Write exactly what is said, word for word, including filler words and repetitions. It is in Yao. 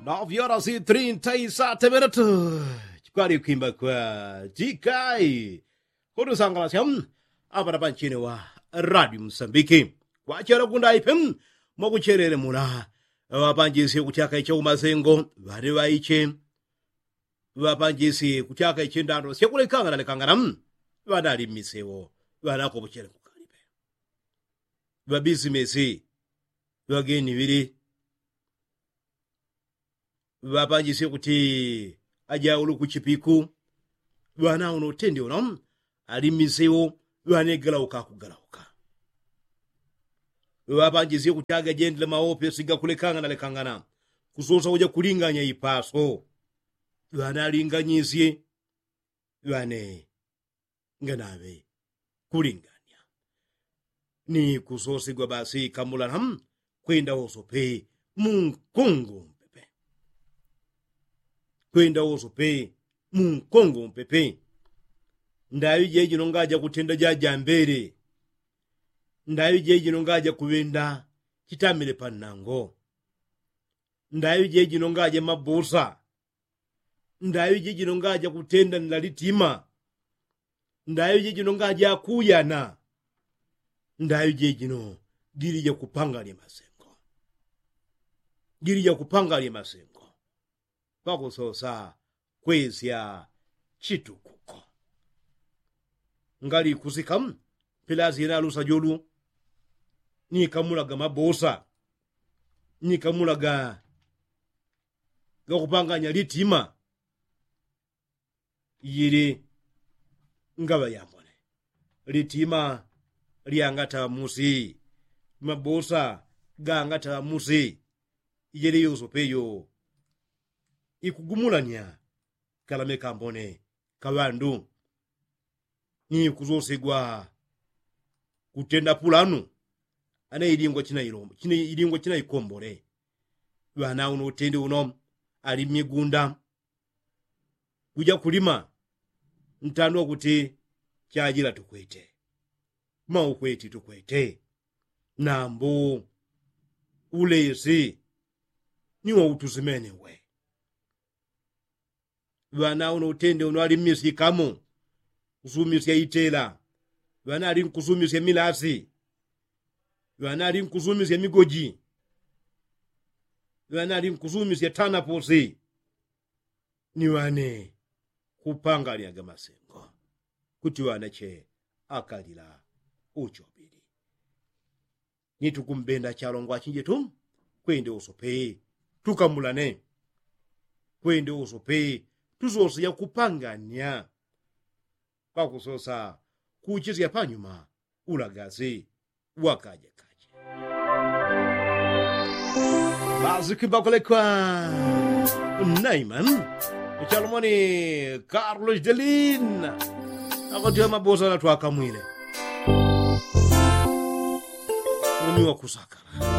Nove horas e trinta e sete minutos. Chikwali kwimba kwa jikai kutusangalasya apata panchini wa radio msambiki kwachela kundaipe mwakuchelele mula. Ŵapanjisye kutyaka iche umasengo ŵali ŵaiche. Ŵapanjisye kutyaka iche ndando syakulekangana lekangana. Ŵanali mmisewo ŵanakopochele kukalipe. Ŵabisimesi ŵageni ŵili. Ŵapanjisye kuti ajaulu kuchipiku. Ŵana uno utende uno ali mmisewo ŵanegalauka kugalauka. Ŵapanjisye kuti agajendele maopesi gakulekangana lekangana kusosa uja kulinganya ipaso. Ŵanalinganyisye ŵane nganaŵe kulinganya. Ni kusosigwa basi kamulana kwenda wosope munkungu mpepe. Kwenda wosope munkungu mpepe. Ndaŵi jejino ngaja kutenda jajambele. Ndaŵi jejino ngaja kuŵenda chitamile pannango. Ndaŵi jejino ngaja mabusa. Ndaŵi jejino ngaja kutenda nlalitima. Ndaŵi jejino ngaja kuyana. Ndaŵi jejino jili jakupanga lye masengo. Jili jakupanga lye masengo pakusosa kwesya chitukuko. Ngali kusika mpilasi yena alusa julu nikamulaga mabusa nikamulaga gakupanganya litima. Yili ngaŵa yambone litima lyangataŵa musi. Mabusa gangataŵa musi. Yili yosope yo ikugumulanya kalame kambone kaŵandu. Ni kusosigwa kutenda pulanu ane ilingwa chinaikombole. Ŵana uno utende uno ali mmigunda. Kuja kulima ntandwa kuti chajila tukwete maukweti tukwete. Nambu ulesi ni wautusimene we. Ŵana uno utende uno ali mmisikamo kusumisya itela. Ŵana ali nkusumisya milasi. Ŵana ali nkusumisya migoji. Ŵana ali nkusumisya tanaposi. Ni ŵane kupanganya gamasengo kuti ŵana che akalila uchobili. Ni tukumbenda chalongwa chinjetu kwende usope tukamulane. Kwende usope tusose yakupanganya pakusosa kuchisya panyuma ulagasi wakajekaje. Basi kwimba kulekwa naiman chalomoni carlos delin. Akotiwa mabosa natwakamwile umi wakusakala.